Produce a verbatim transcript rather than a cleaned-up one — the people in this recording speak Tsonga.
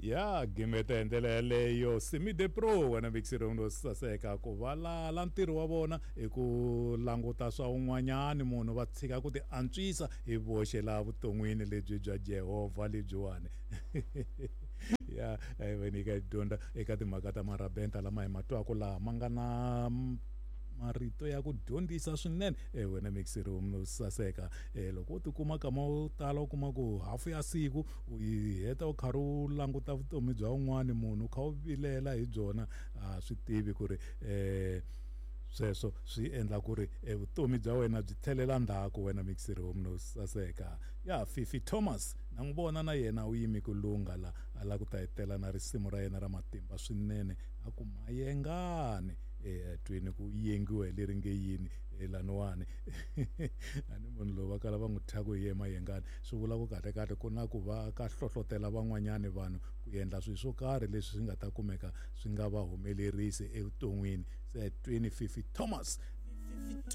Ya gimeta hi ndlela yaleyo Simi de Pro wena mixirong no saseka ku valala ntirho wa vona i ku languta swa un'wanyani munhu va tshika ku ti antswisa hi voxe laha vuton'wini lebyi bya Jehovha lebyiwani. Ya hi va nyika dyondza eka timhaka ta marabenta lama hi ma twaka laha ma nga na marito ya ku dyondzisa swinene. E wena mixirong no saseka, e loko u tikuma kama wo tala u kuma ku hafu ya siku u yi heta u karhi u languta vutomi bya un'wani munhu u kha u vilela hi byona, a swi tivi ku ri um sweswo swi endla ku ri vutomi bya wena byi tlhelela ndzhaku. Wena mixirong no saseka. Ya Fifi Thomas na n'wi vona na yena u yimi ku lungha la a lava ku ta hetela na risimu ra yena ra matimba swinene a ku mayengani e twini ku yengiwa hi leri nge yini laniwani. A ni munhu lowu va kala va n'wi thya ku hi ye mayengani, swi vula ku kahle kahle ku na ku va ka hlohlotela van'wanyani vanhu ku endla swilo swo karhi leswi swi nga ta kumeka swi nga va humelerisi evuton'wini. Se twini Fifi Thomas.